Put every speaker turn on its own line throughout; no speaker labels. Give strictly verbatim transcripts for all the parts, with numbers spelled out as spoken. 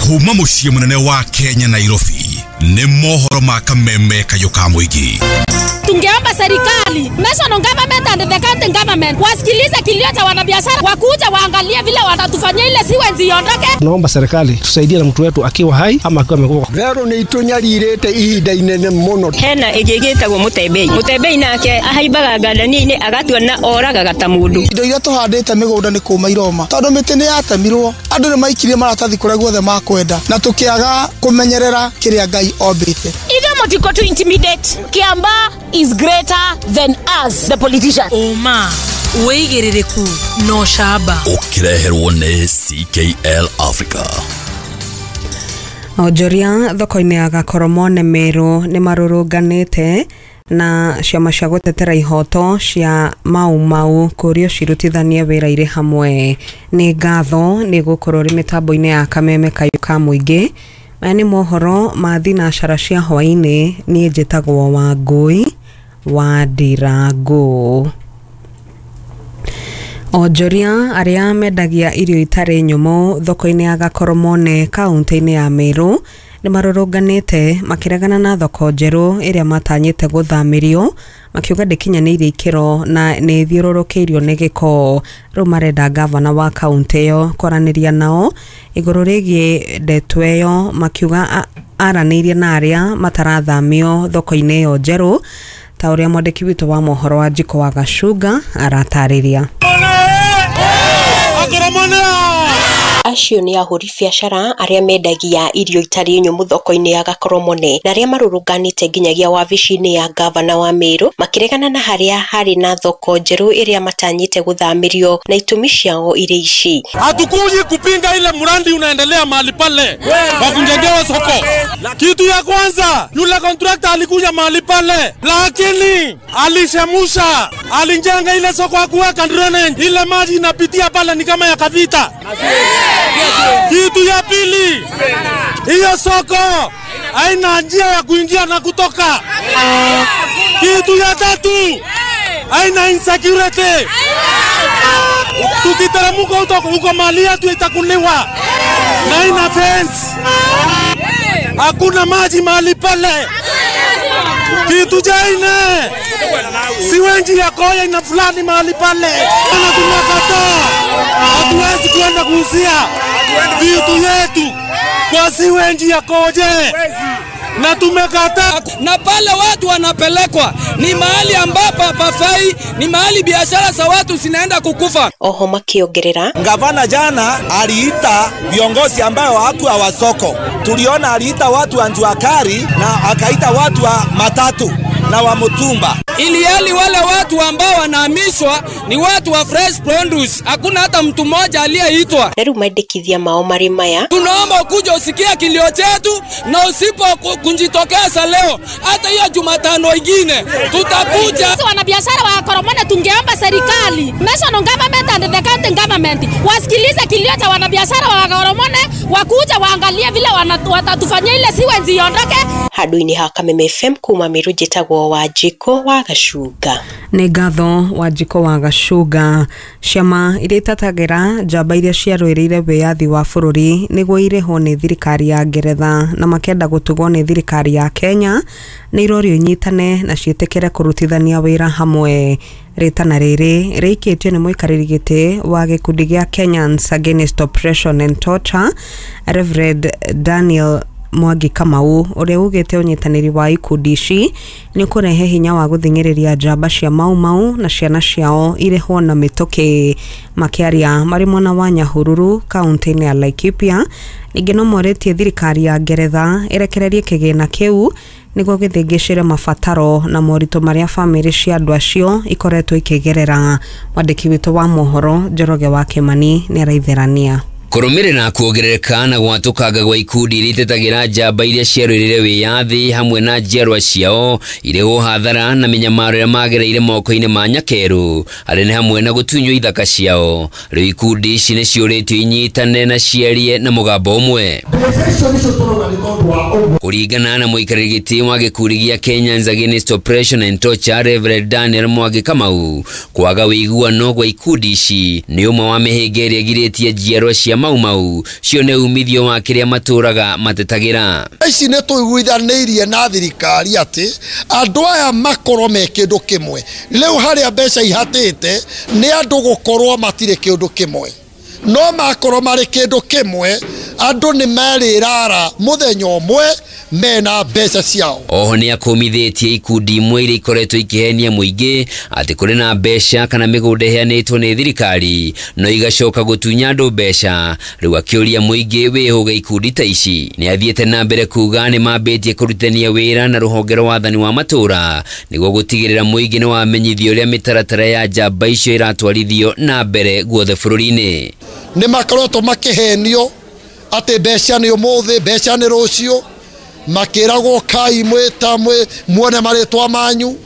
Kuma muciĩ munene wa Kenya Nairobi nĩ mohoro ma kameme kayũ ka mũingĩ.
Tungeomba serikali, national government and the county government wasikilize kilio cha wanabiashara, wakuja waangalie vile watatufanyia ile siwenzi iondoke.
Tunaomba serikali tusaidie na mtu wetu akiwa hai ama akiwa amekufa.
Rero ni itunyalirete ihinda inene muno.
Hena ĩngĩ ĩgĩtagwo Mũtembei. Mũtembei nake ahaimbaga ngandani-inĩ agatua na oragaga ta mũndũ.
Indo iria tũhandĩte mĩgũnda nĩ kũma iroma tondũ mĩtĩ nĩ yatemirwo, andũ nĩ maikirie maratathi kũrĩa guothe makwenda na tũkĩaga kũmenyerera kĩrĩa Ngai ombĩte.
Ithuĩ mũtiko to intimidate. Kiambaa is greater than us, the politicians.
Ũma, wĩigĩrĩrĩku na ũcamba.
Ũkĩreherwo nĩ C K L Africa.
Onjoria thoko-inĩ ya Gakoromone Meru nĩ marũrũnganĩte na ciama cia gũtetera ihoto cia Mau Mau kũrio cirutithanie wĩra irĩ hamwe. Nĩ ngatho nĩ gũkorwo rĩ mĩtambo-inĩ ya kameme kayũ ka mũingĩ. Maya nĩ mohoro ma thinacara cia hwaĩ-inĩ. Niĩ njĩtagwo Wangũi wa Ndirango. Onjoria arĩa mendagia irio itarĩ nyũmũ thoko-inĩ ya Gakoromone kaunti-inĩ ya Meru nĩ marũrũnganĩte makĩregana na thoko njerũ ĩrĩa matanyĩte gũthamĩrio, makiuga ndĩkinyanĩirie ikĩro na nĩ ĩthiũrũrũkĩirio nĩ gĩko. Rĩu marenda gavana wa kaunti ĩyo kwaranĩria nao igũrũ rĩgiĩ ndeto ĩyo, makiuga aranĩirie na arĩa matarathamio thoko-inĩ ĩyo njerũ, ta ũrĩa mwandĩki witũ wa mohoro wa Njiko wa Gacunga aratarĩria.
Acio nĩ ahũri biacara arĩa mendagia irio itarĩ nyũmũ thoko-inĩ ya Gakoromone na arĩa marũrũnganĩte nginyagia wabici-inĩ ya gavana wa Meru makĩregana na harĩa harĩ na thoko njerũ ĩrĩa matanyĩte gũthamĩrio na itũmi ciao irĩ ici.
Hatukuji kupinga ile mradi unaendelea mahali pale wa kujengewa soko. Kitu ya kwanza, yule contractor alikuja mahali pale lakini alishemusha, alijenga ile soko hakuweka drainage, ile maji inapitia pale ni kama ya kavita. Kitu ya pili, hiyo soko haina njia ya kuingia na kutoka. Kitu ya tatu, haina insecurity. Tukiteremka huko mali yetu itakuliwa. Na ina fence. Hakuna maji mahali pale. Kitu cha nne, siwenji ya koya ina fulani mahali pale. Na tunakataa. Hatuwezi kuenda kuuzia vitu yetu kwa siwenji ya koje. Na tumekataa.
Na pale watu wanapelekwa ni mahali ambapo hapafai, ni mahali biashara za watu zinaenda kukufa.
Oho makiongerera,
gavana jana aliita viongozi ambao hawakuwa wa soko. Tuliona aliita watu wa jua kali na akaita watu wa matatu na wa mutumba.
Ili hali wale watu ambao wanahamishwa ni watu wa fresh produce. Hakuna hata mtu mmoja aliyeitwa.
Na rĩu maendekithia mao marĩ maya.
Tunaomba ukuje usikie kilio chetu, na usipo kujitokeza leo hata hiyo Jumatano ingine tutakuja.
Sisi wanabiashara wa Gakoromone tungeomba serikali, national government and the county government wasikilize kilio cha wanabiashara wa Gakoromone, wakuja waangalie vile watatufanyia ile siwenzi iondoke.
Handũ-inĩ ha Kameme F M kuma Meru njĩtagwo Wanjikũ wa Gacunga.
Nĩ ngatho Wanjikũ wa Gacunga. Ciama iria itatagĩra njamba iria ciarũĩrĩire wĩyathi wa bũrũri nĩguo irĩhwo nĩ thirikari ya Ngeretha na makenda gũtugwo nĩ thirikari ya Kenya nĩ irorio inyitane na ciĩtĩkĩre kũrutithania wĩra hamwe. Rĩtana rĩrĩ rĩikĩtio nĩ mũikarĩri gĩtĩ wa gĩkundi gĩa Kenyans Against Oppression and Torture Reverend Daniel Mwangi Kamau, ũrĩa ugĩte ũnyitanĩri wa ikundi ici nĩ ũkũrehe hinya wa gũthing'ĩrĩria njamba cia Mau Mau na ciana ciao irĩhwo na mĩtũkĩ. Makĩaria marĩ mwena wa Nyahururu kaunti-inĩ ya Laikipia, ningĩ no morĩtie thirikari ya Ngeretha ĩrekererie kĩgĩna kĩu nĩguo gĩthĩngĩcĩre mabataro na moritũ marĩa bamĩrĩ cia andũ acio ikoretwo ikĩgerera. Mwandĩki witũ wa mohoro Njoroge wa Kĩmani nĩ araitherania.
Kũrũmĩrĩra kuongerereka na gwatũkanga gwa ikundi iria itetagĩra njamba iria ciarũĩrĩire wĩyathi hamwe na njiarwa ciao irĩhwo hathara na mĩnyamaro ĩrĩa magereire moko-inĩ ma nyakerũ arĩa nĩ hamwe na gũtunywo ithaka ciao. Rĩu ikundi ici nĩ ciũrĩtio inyitane na ciarie na mũgambo ũmwe. Kũringana na mũikarĩri gĩtĩ wa gĩkundi gĩa Kenyans Against Oppression and Torture Reverend Daniel Mwangi Kamau, kwaga ũiguano gwa ikundi ici nĩ ũmwe wa mĩhĩnga ĩrĩa ĩgirĩtie njiarwa cia Mau Mau cione umithio wa kĩrĩa matũraga matetagĩra.
Ici nĩ tũiguithanĩirie na thirikari atĩ andũ aya makorwo me kĩndũ kĩmwe. Rĩu harĩa mbeca ihatĩte nĩ andũ gũkorwo matirĩ kĩndũ kĩmwe, no makorwo marĩ kĩndũ kĩmwe andũ nĩ merĩrara mũthenya ũmwe mena mbeca ciao.
Oho nĩ akũmithĩtie ikundi imwe iria ikoretwo ikĩhenia mũingĩ atĩ kũrĩ na mbeca kana mĩgũnda ĩheanĩtwo nĩ thirikari no igacoka gũtunya andũ mbeca. Rĩu akĩũria mũingĩ wĩhũge ikundi ta ici. Nĩ athiĩte na mbere kuga nĩ mambĩtie kũrutithania wĩra na rũhonge rwa wathani wa matũra nĩguo gũtigĩrĩra mũingĩ nĩ wamenyithio ũrĩa mĩtaratara ya njamba icio ĩratwarithio na mbere guothe bũrũri-inĩ.
Nĩ makoretwo makĩhenio atĩ mbeca nĩ ũmũthĩ, mbeca nĩ rũciũ, makĩragwo kai mwĩta muone marĩtwa manyu,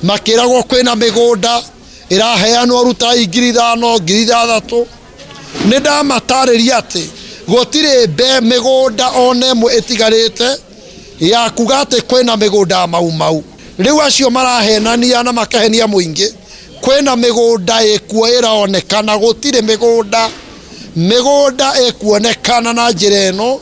makĩragwo kwĩna mĩgũnda ĩraheanwo rutai ngiri ithano ngiri ithathatũ. Nĩ ndamatarĩria atĩ gũtirĩ mbe mĩgũnda ona ĩmwe ĩtigarĩte ya kuga atĩ kwĩna mĩgũnda ya Mau Mau. Rĩu acio marahenania na makahenia mũingĩ kwĩna mĩgũnda ĩkuo ĩraonekana, gũtirĩ mĩgũnda mĩgũnda ĩkuonekana na njĩra ĩno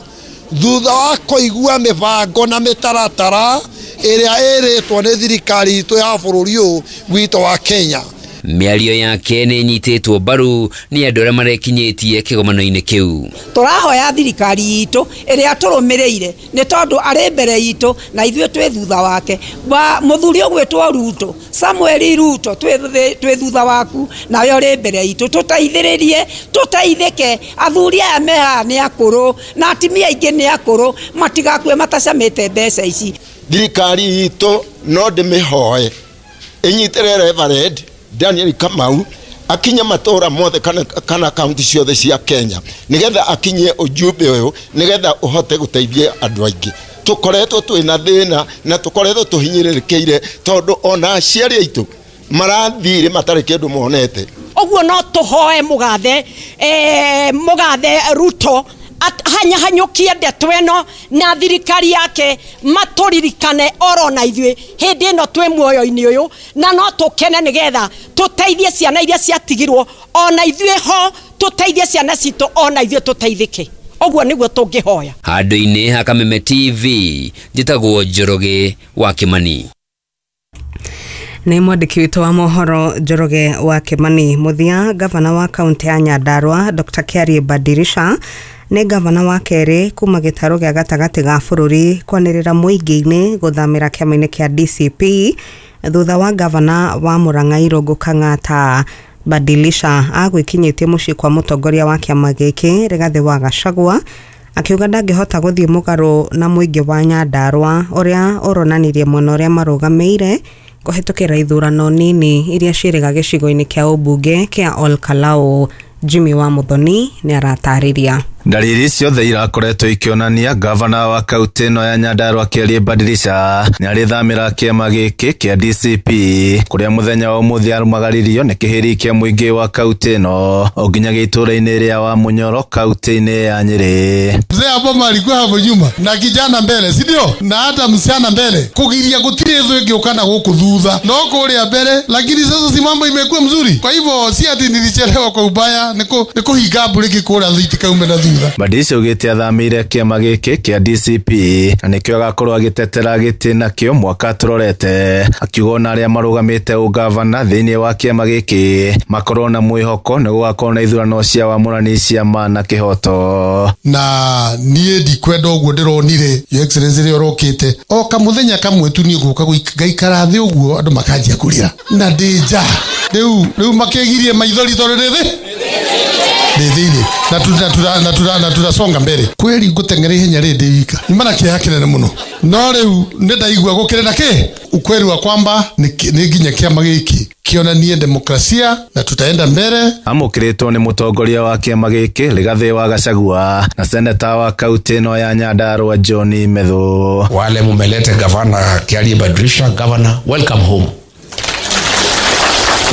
thutha wa kũigua mĩbango na mĩtaratara ĩrĩa ĩrĩtwo nĩ thirikari itũ ya bũrũri ũyũ witũ wa Kenya.
Mĩario yake nĩ ĩnyitĩtwo mbaru nĩ andũ arĩa marekinyĩtie kĩgomano-inĩ kĩu.
Tũrahoya thirikari itũ ĩrĩa tũrũmĩrĩire nĩ tondũ arĩ mbere itũ na ithuĩ twĩ thutha wake. Mũthuri ũgwĩtwo Ruto, Samuel Ruto, twĩ thutha waku nawe ũrĩ mbere itũ, tũteithĩrĩrie tũteithĩke. Athuri aya me haha nĩ akũrũ na atumia aingĩ nĩ akũrũ, matigakue matacamĩte mbeca ici.
Thirikari itũ no ndĩmĩhoe ĩnyitĩre Reverend Daniel Kamau akinye matũra mothe kana, kana kaunti ciothe cia Kenya nigetha akinye ujumbe ũyũ nigetha uhote gũteithia andũ aingĩ. Tũkoretwo twĩna thĩna na tũkoretwo tũhinyĩrĩrĩkĩire tondũ ona aciari aitũ marathire matarĩ kĩndũ monete.
Ũguo no tũhoe mũgathe eh, mũgathe Ruto hanyahanyũkie ndeto ĩno na thirikari yake matũririkane oro na ithuĩ hĩndĩ ĩno twĩ muoyo-inĩ ũyũ, na no tũkene nĩgetha tũteithie ciana iria ciatigirwo ona ithuĩ ho tũteithie ciana citũ ona ithuĩ tũteithĩke. Ũguo nĩguo tũngĩhoya.
Handũ-inĩ ha Kameme T V njĩtagwo Njoroge wa Kĩmani.
Nĩ mwandĩki witũ wa mohoro Njoroge wa Kĩmani. Mũthia, gavana wa kaunti ya Nyandarua Doctor Kiarie Badirisha nĩ gavana wa kerĩ kuma gĩtarũ gĩa gatagatĩ ga bũrũri kwanĩrĩra mũingĩ-inĩ gũthamĩra kĩama-inĩ kĩa D C P thutha wa gavana wa Murang'a Irũngũ Kang'ata. Badilisha agwĩkinyĩtie mũciĩ kwa mũtongoria wa kĩama gĩkĩ Rigathĩ wa Gachagua akiuga ndangĩhota gũthiĩ mũgarũ na mũingĩ wa Nyandarua ũrĩa ũronanirie mwena ũrĩa marũgamĩire kũhetũkĩra ithurano nini iria ciĩrĩga gĩcigo-inĩ kĩa ũmbunge kĩa Ol Kalou. Jimmy wa Muthoni nĩ aratarĩria.
Ndariri ciothe irakoretwo ikionania gavana wa kaunti ĩno ya Nyandarua Kiarie Badirisha nĩarĩthamĩra kĩama gĩkĩ kĩa D C P kũrĩa mũthenya wa ũmũthĩ arumagaririo nĩ kĩhĩri kĩa mũingĩ wa kaunti ĩno o nginyagia itũũra-inĩ rĩa Wamunyoro kaunti-inĩ ya Nyĩrĩ.
Mzee hapo alikuwa hapo nyuma na kijana mbele, si ndio? Na hata msichana mbele kugiria gutire hizo ingĩũka na gũkũ thutha no kũrĩa mbere, lakini sasa si mambo imekuwa mzuri. Kwa hivyo si ati nilichelewa kwa ubaya, niko niko higabu rĩngĩ kũrĩa thiti kaume na thutha.
Badirisha augĩte athamĩire kĩama gĩkĩ kĩa D C P na nĩkĩo agakorwo agĩtetera gĩtĩ nakĩo mwaka tũrorete, akiuga ona arĩa marũgamĩte ũgavana thĩinĩ wa kĩama gĩkĩ makorwo na mwĩhoko nĩ gũgakorwo na ithurano cia wamũrani cia ma na kĩhoto.
Na niĩ ndikwenda ũguo ndĩronire Your Excellency rĩrĩa ũrokĩte o kamũthenya kamwe tu niĩ ngũka ngaikara thĩ ũguo andũ makanjia kũrĩra na ndĩ nja. Rĩu rĩu makĩgirie maithori tondũ ndĩ thĩ ndĩ thĩinĩ na tuna na tuna na tunasonga mbere kweli ngũteng'era ihenya rĩ ndĩ wika nyuma na kĩeha kĩnene mũno, no rĩu nĩ ndaigua gũkĩrĩ na kĩ ukweli wa kwamba nĩ nginya kĩama gĩkĩ kĩonanie demokrasia na tutaenda mbere.
Amũkĩrĩtwo nĩ mũtongoria wa kĩama gĩkĩ Rigathĩ wa Gachagua na seneta wa kaunti ĩno ya Nyandarua John Methu.
Wale mumelete gavana Kiarie Badirisha, governor, welcome home.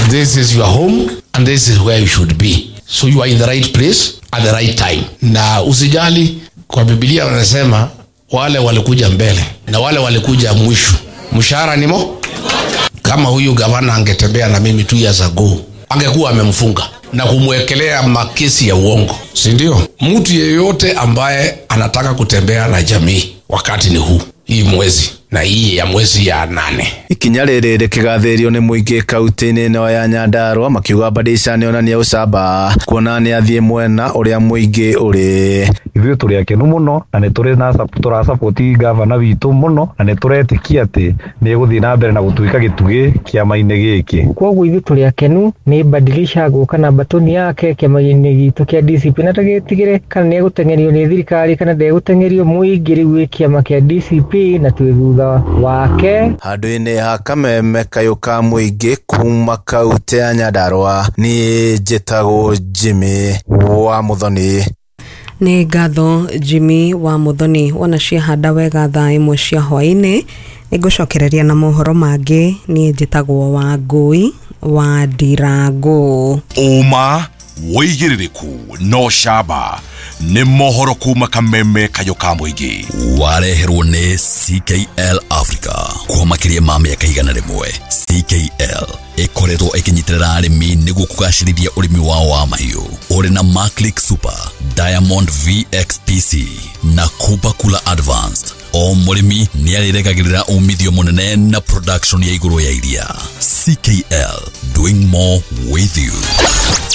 This is your home and this is where you should be. So you are in the right place at the right time. Na usijali, kwa Biblia wanasema wale walikuja mbele na wale walikuja mwisho, mshahara ni mo. Kama huyu gavana angetembea na mimi two years ago, angekuwa amemfunga. na kumwekelea makesi ya uongo, si ndio? Mtu yeyote ambaye anataka kutembea na jamii wakati ni huu, hii mwezi na hii ya mwezi ya nane.
Ikinya rĩrĩ rĩkĩgathĩrĩrio nĩ mũingĩ kaunti-inĩ ĩno ya Nyandarua makiuga Badilisha nĩonania ũcamba kuona nĩ athiĩ mwena ũrĩa mũingĩ ũrĩ.
Ithuĩ tũrĩ akenu mũno na nĩ tũrĩ na tũrasapoti gavana witũ mũno na nĩ tũretĩkia atĩ nĩ egũthiĩ na mbere na gũtuĩka gĩtugĩ kĩama-inĩ gĩkĩ.
Koguo ithuĩ tũrĩ akenu nĩ Badilisha gũka na batoni yake kĩama-inĩ gitũ kĩa D C P na tũgĩtigĩre kana nĩ egũteng'erio nĩ thirikari kana ndegũteng'erio, mũingĩ rĩu wĩ kĩama kĩa D C P na twĩ thutha wake.
Handũ-inĩ ha kameme kayũ ka mũingĩ kuma kaunti ya Nyandarua, niĩ njĩtagwo Jimmy wa Muthoni.
Nĩ ngatho Jimmy wa Muthoni. Wona ciahanda wega thaa ĩmwe cia hwaĩ-inĩ nĩngũcokereria na mohoro mangĩ. Niĩ njĩtagwo Wangũi wa Ndirango.
Ũma wĩigĩrĩrĩku no camba nĩ mohoro kuma kameme kayũ ka mũingĩ.
Wareherwo nĩ C K L Africa kwa makĩria ma mĩaka igana rĩmwe. C K L ĩkoretwo ĩkĩnyitĩrĩra arĩmi nĩguo kũgacĩrithia ũrĩmi wao wa mahiũ. Ũrĩ na Maclick Super, Diamond V X P C na Kupa Kula Advanced. O mũrĩmi nĩarĩrekagĩrĩra umithio mũnene na production ya igũrũ ya iria. C K L, doing more with you.